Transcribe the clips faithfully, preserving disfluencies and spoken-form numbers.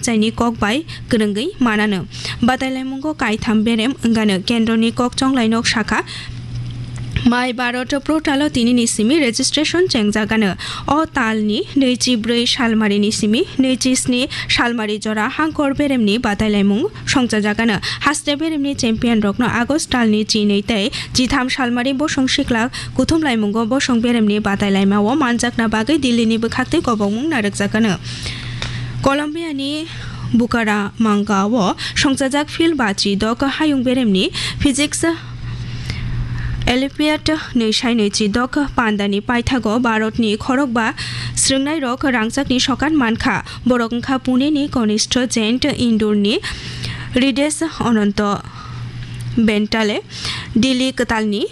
chaini kok bai kwrwngwi manano. Batailaimungo kaitham berem wngano. Kendroni kok chonglai nok sakha, Mai Bharat portalo tinini simi registration chengjagano. O talni nwichi bwrwi salmarini simi nwichi sni salmari jora hangkor beremni batailaimung songchajagano. Haste beremni champion rokno August talni chinwi tei chitham salmari bosong sikla kuthumlaimungo bosong beremni batailaimao manjakna bagwi Delhini bwkhaktwi kobokmung narwkjakano. Colombiani Bucaramanga-o songchajak field bachi dok hayung beremni physics Olympiad nwi sai nwichi dok pandani paithago Bharatni khorokba swrwngnairok rangchakni sokat mankha. Borok wngkha Puneni Kanishta Jain, Indorni Hridesh Ananta Bentale, Delhi kwtalni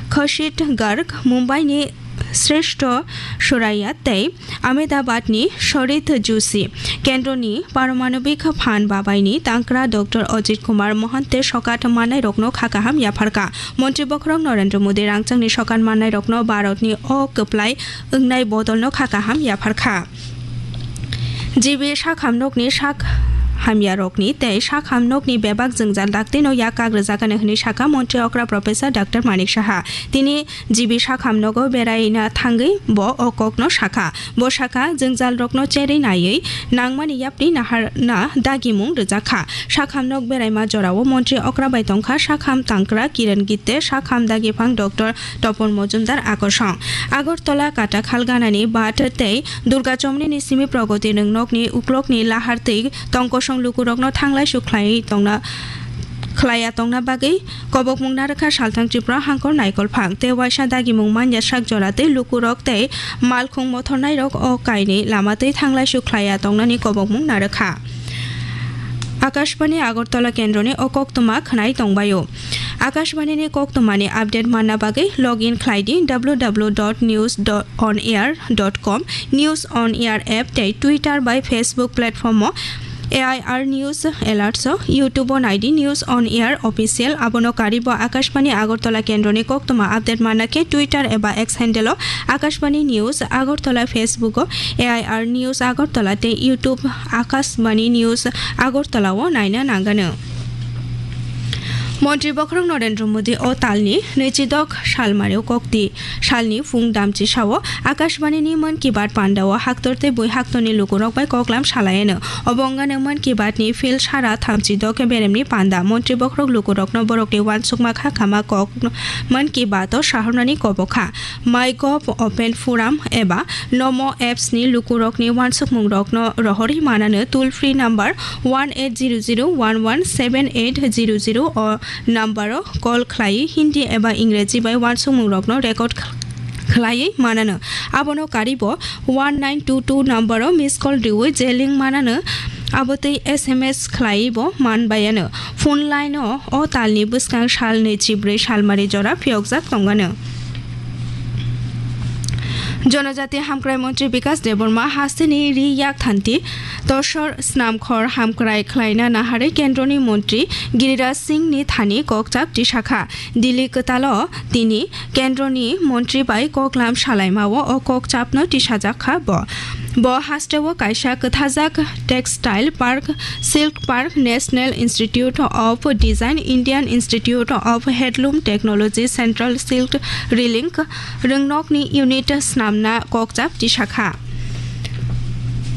Khushit Garg, Mumbaini Shrestha Suraiya tei Ahmedabadni Sharit Joshi. Kendroni Paramanobik Phan Babaini tangkra Doctor Ajit Kumar Mohante sokat mannairokno kha kaham yapharkha. Montri bokhorok Narendra Modi rangchakni sokat mannairokno Bharatni o kwplai wngnai bodolno kha kaham yapharkha. G B sak hamnokni sak hamyarokni tei sak hamnokni bebak jwngjal daktino yak kagrwjakani hwnwi sakha Montri okra Professor Doctor Manik Saha. Tini G B sak hamnogo beraina thangwi bo o kokno sakha. Bo sakha, jwngjalrokno cherwi naiwi nangmani yapri naharna dagimung rwjakha. Sak hamnok beraima jorao Montri okra bai tongkha sak ham tangkra Kiran Gitte, sak ham dagiphang Doctor Topon Mojumdar akosong. Agartala Katakhal ganani Bhat tei Durga Chomnini simi Pragoti Rwngnokni uklokni lahar twi tongkosong lukurokno thanglaisu khlaiwi tongna, khlaiya tongna bagwi kobokmung narwkha Salthang Tripura Hangkor Naikolphang tei waisa dagimung manya sak jora tei lukurok tei malkhung mothornairok o kainwi lama twi thanglaisu khlaiya tongnani kobokmung narwkha. Akashbani Agartala kendroni o koktwma khwnai tongbaio. Akashbanini koktwmani update manna bagwi log in khlai di w w w dot news dot on air dot com, News on Air app tei Twitter bai Facebook platform o A I R News Alerts o, YouTube o nai di News on Air Official. Abono karibo Akashbani Agartala kendroni koktwma update manna khe Twitter eba X handle o Akashbani News Agartala, Facebook o A I R News Agartala tei YouTube Akashbani News Agartala o naina nangano. Montri bokhorok Narendra Modi o talni nwichidok salmario kokti salni phung damchi sao Akashbani ni Mann Ki Baat panda o haktor tei bui haktorni lukurok bai koklam salaiano. Obo wngano Mann Ki Baat ni field sara thamchidok beremni panda. Montri bokhorok lukurokno borokni uansukma kha kama kok Mann Ki Baat o sahornani kobokha. MyGov Open Forum eba Namo apps ni lukurokni uansukmungrokno rohorwi manano toll free number one eight zero zero one one seven eight zero zero o number o call khlaiwi Hindi eba Ingreji bai uansukmungrokno record khlaiwi manano. Abono karibo one nine two two number o miss call riwi je link manano, abotwi S M S khlaiwi bo manbayano. Phone line o o talni bwskang salni chibrwi salmari jora phiyokjak tongano. Jonojati Hamkrai Montri Bikas Debbarma hasteni ri yak thanti tosor snamkhor hamkrai khlaina naharwi kendroni montri Giriraj Singh ni thani kokchap tisakha. Delhi kwtalo tini kendroni montri bai koklam salaimao o kokchapno tisajakha bo. Bo hasteo kaisa kwthajak textile park, silk park, National Institute of Design, Indian Institute of Handloom Technology, Central Silk Reeling rwngnokni unit snamna kokchap tisakha.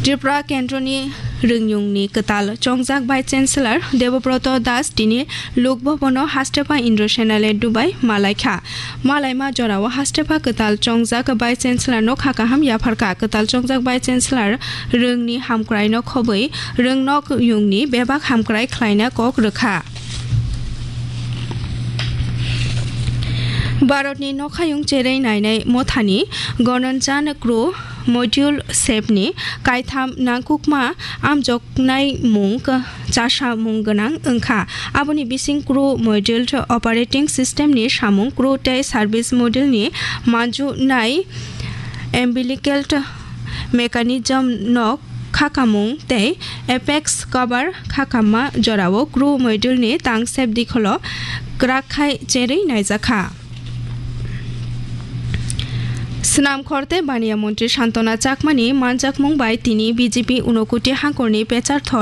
Tripura kendroni rwngyungni kwtal chongjak Vice Chancellor Debobroto Das tini Lok Bhavan o hastepha Indra Senale dubai malaikha. Malaima jorao hastepha kwtal chongjak Vice Chancellor no kha kaham yapharkha. Kwtal chongjak Vice Chancellor rwngni hamkraino khobwi rwngnok yungni bebak hamkrai khlaina kok rwkha. Bharatni nokhayung cherwi nainai mothani Gaganyan crew module sepni kaitham nangkukma amjoknaimung chasamung gwnang wngkha. Aboni bising crew module operating system ni samung, crew tei service module ni manjunai umbilical mechanism no khakamung tei apex cover khakamma jorao crew module ni tangsep dikholo kwrak khai cherwi naijakha. Swnam khor tei baniya montri Santona Chakmani manjakmung bai tini B J P Unakoti hangkorni pecharthor